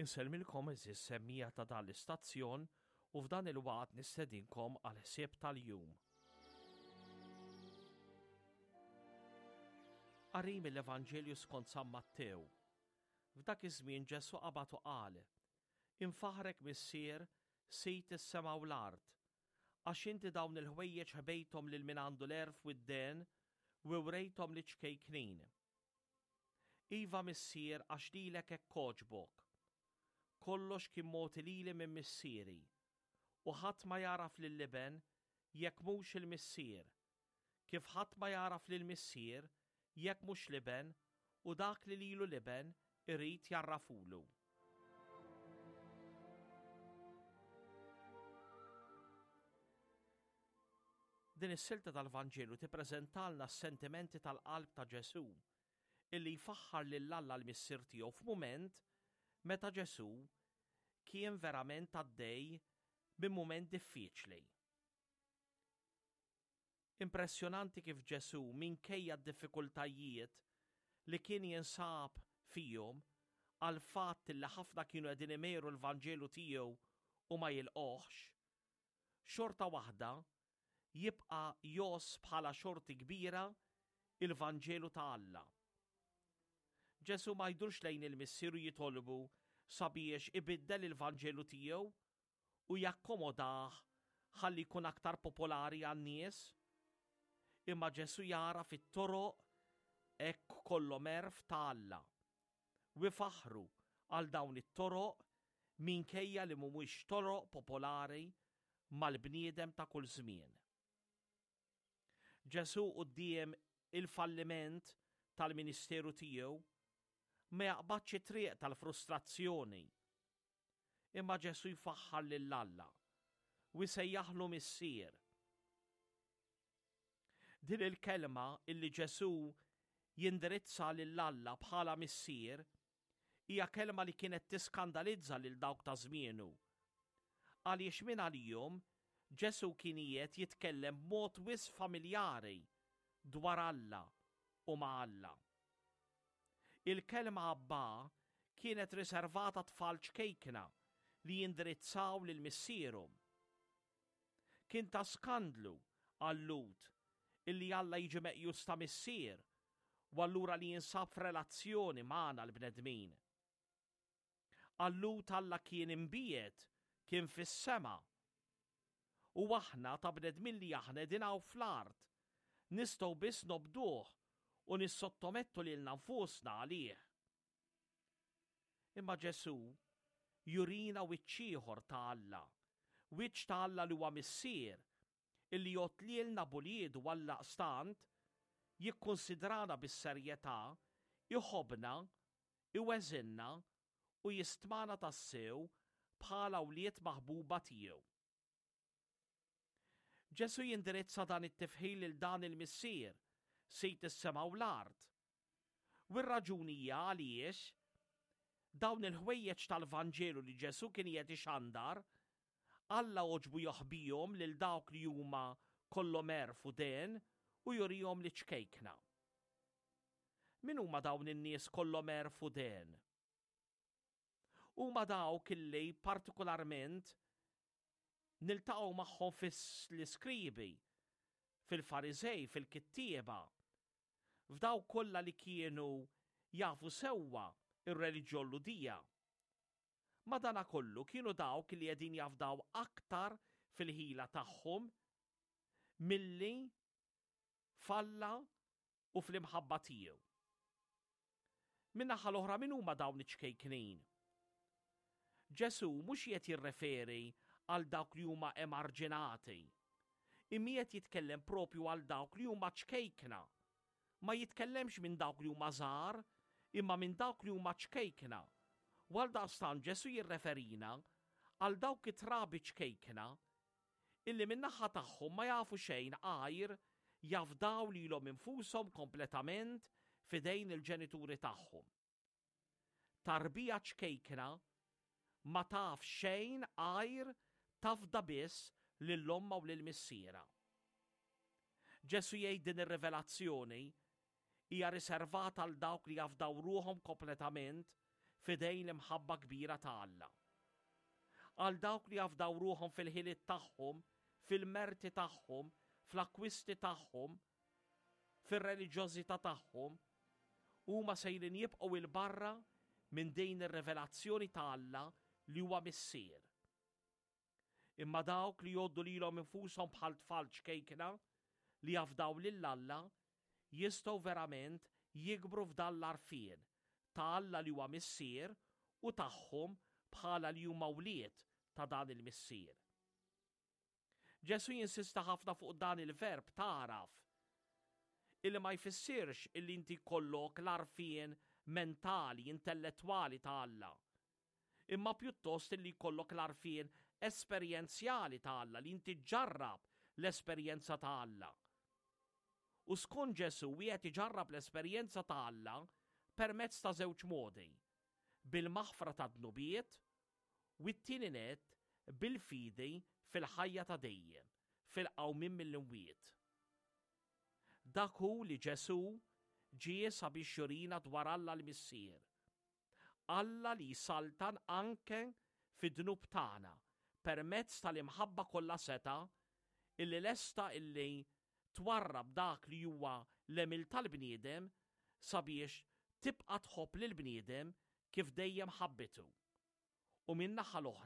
Insellmilkom għeżież semmiegħa ta' dan l-istazzjon u f'dan il-waqt nistedinkom għall-ħsieb tal-jum. Qari mill-Evanġelju skont San Mattew. F'dak iż-żmien Ġesù qabad u qal, Infaħħrek Missier, Sid is-sema u l-art, għax inti dawn il-ħwejjeġ ħbejthom lil min għandu l-għerf u d-dehen u wrejthom liċ-ċkejknin. Iva Missier għax lilek hekk għoġbok. Kollox kien mogħti lili minn Missieri, u ħadd ma jagħraf lill-Iben jekk mhux il-Missier, kif ħadd ma jagħraf lill-Missier jekk mhux l-Iben u dak li lilu l-Iben irid jgħarrafhulu. Din is-silta tal-Vanġelu tippreżentalna s-sentimenti tal-qalb ta' Ġesù illi jfaħħar lil Alla l-Missier tiegħu f'mument meta Ġesù kien verament għaddej minn mument diffiċli. Impressjonanti kif Ġesù, minkejja d-diffikultajiet li kien jinsab fihom għall-fatt li ħafna kienu qegħdin imegħru l-Vanġelu tiegħu u ma jilqgħuhx, xorta waħda jibqa' jgħożż bħala xorti kbira il-Vanġelu ta' Alla. Ġesù ma jdurx lejn il-Missier u jitolbu sabiex ibiddel il-Vanġelu tiegħu u jakkomodah ħalli jkun aktar popolari għan-nies. Imma Ġesù jagħraf it-toroq hekk kollhom għerf ta' Alla u ifaħħru għal dawn it-toroq minkejja li mhumiex toroq popolari mal-bniedem ta' kull żmien. Ġesù quddiem il-falliment tal-ministeru tiegħu ma jaqbadx it-triq tal-frustrazzjoni Imma Ġesù jfaħħar lil Alla u jsejjaħlu Missier. Din il-kelma illi Ġesù jindirizza lil Alla bħala Missier hija kelma li kienet tiskandalizza lil dawk ta' żmienu. Għaliex minn għalihom Ġesù kien qiegħed jitkellem b'mod wisq familjari dwar Alla u ma' Alla. Il-kelma Abbà kienet riservata tfal ċkejkna li jindirizzaw lil missierhom. Kien ta' skandlu għal-Lhud illi Alla jiġi meqjus ta' missier u allura li jinsab f'relazzjoni magħna l-bnedmin. Għal-Lhud Alla kien imbiegħed, kien fis-sema. U aħna ta' bnedmin li aħna qegħdin hawn fl-art, nistgħu biss nobduh u nissottomettu lilna nfusna għalih. Imma Ġesù jurina wiċċ ieħor ta' Alla, wiċċ ta' Alla li huwa Missier, illi jgħodd lilna b'uliedu għaldaqstant jikkunsidrana bis-serjetà, iħobbna iweżinna u jistmana tassew bħala wlied maħbuba tiegħu. Ġesù jindirizza dan it-tifħir lil dan il-Missier, Sid is-sema u l-art. U r-raġuni hija għaliex dawn il-ħwejjeġ tal-Vanġelu li Ġesù kien qiegħed ixandar, Alla għoġbu jaħbihom lil dawk li huma kollhom għerf u dehen u jurihom liċ-ċkejkna. Min huma dawn in-nies kollhom għerf u dehen? Huma dawk illi partikolarment niltaqgħu magħhom fl-iskribi, fil-Fariżej, fil-kittieba, f'dawk kollha li kienu jafu sewwa r-reliġjon Lhudija. Madanakollu kienu dawk li qegħdin jafdaw aktar fil-ħila tagħhom milli f'Alla u fl-imħabba tiegħu. Min-naħa l-oħra min huma dawn iċ-ċkejknin? Ġesù mhux qiegħed jirreferi għal dawk li huma emarġinati, imma qiegħed jitkellem propju għal dawk li huma ċkejkna. Ma jitkellemx minn dawk li huma żgħar, imma minn dawk li huma ċkejkna. U għaldaqstant Ġesù jirreferina għal dawk it-trabi ċkejkna illi min-naħa tagħhom ma jafu xejn għajr jafdaw lilhom infushom kompletament f'idejn il-ġenituri tagħhom. Tarbija ċkejkna ma taf xejn għajr tafda biss lil ommha u lil missierha. Ġesù jgħid din ir-rivelazzjoni hija riservata għal dawk li jafdaw ruħhom kompletament f'idejn l-imħabba kbira ta' Alla. Għal dawk li jafdaw ruħhom fil-ħiliet tagħhom, fil-merti tagħhom, fl-akkwisti tagħhom, fir-reliġjożità tagħhom, huma sejrin jibqgħu 'il barra minn din ir-rivelazzjoni ta' Alla li huwa Missier. Imma dawk li jgħoddu lilhom infushom bħal tfal ċkejkna li jafdaw lil Alla jistgħu verament jikbru f'dan l-għarfien ta' Alla li huwa Missier u tagħhom bħala li huma wlied ta' dan il-Missier. Ġesù jinsista ħafna fuq dan il-verb tagħraf, illi ma jfissirx illi inti jkollok l-għarfien mentali, intellettwali ta' Alla, imma pjuttost illi jkollok l-għarfien esperjenzjali ta' Alla, li inti ġġarrab l-esperjenza ta' Alla. U skont Ġesù wieħed iġarrab l-esperjenza ta' Alla permezz ta' żewġ modi, bil-maħfra tad-dnubiet u t-tieni nett bil-fidi fil-ħajja ta' dejjem, fil-qawmien mill-imwiet. Dak hu li Ġesù ġie sabiex jurina dwar Alla l-Missier. Alla li jsaltan anke fid-dnub tagħna permezz tal-imħabba kollha setgħa illi lesta illi twarrab dak li huwa l-għemil tal-bniedem sabiex tibqa' tħobb lill-bniedem kif dejjem ħabbitu. U min-naħa l-oħra.